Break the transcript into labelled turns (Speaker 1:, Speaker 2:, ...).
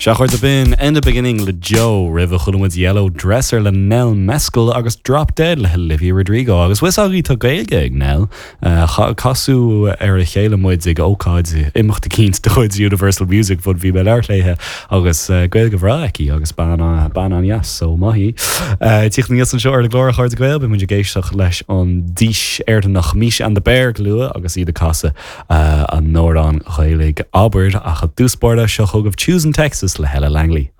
Speaker 1: Sea, a chairde, b'in End of Beginning le Joe, roimhe chuala muid Yellow Dresser le Nell Mescal agus Drop Dead le hOlivia Rodrigo. Agus bhfuil fhios agaibh tá Gaeilge ag Nell. Casadh ar a chéile muid ag ócáid imeacht eicínt de chuid Universal Music Fund, bhí mé ag labhairt léithe agus Gaeilge bhreá aici agus bean bean an-dheas, so maith í. Tíocht aníos anseo ar an gclár a chairde Gael, beidh muid ag éisteacht leis an dís Éireannach Misha and the Bear go luath agus iad ag casadh a n-amhrán Ghaeilge Abair ach i dtús báire seo chugaibh Choosing Texas le Hella Langley.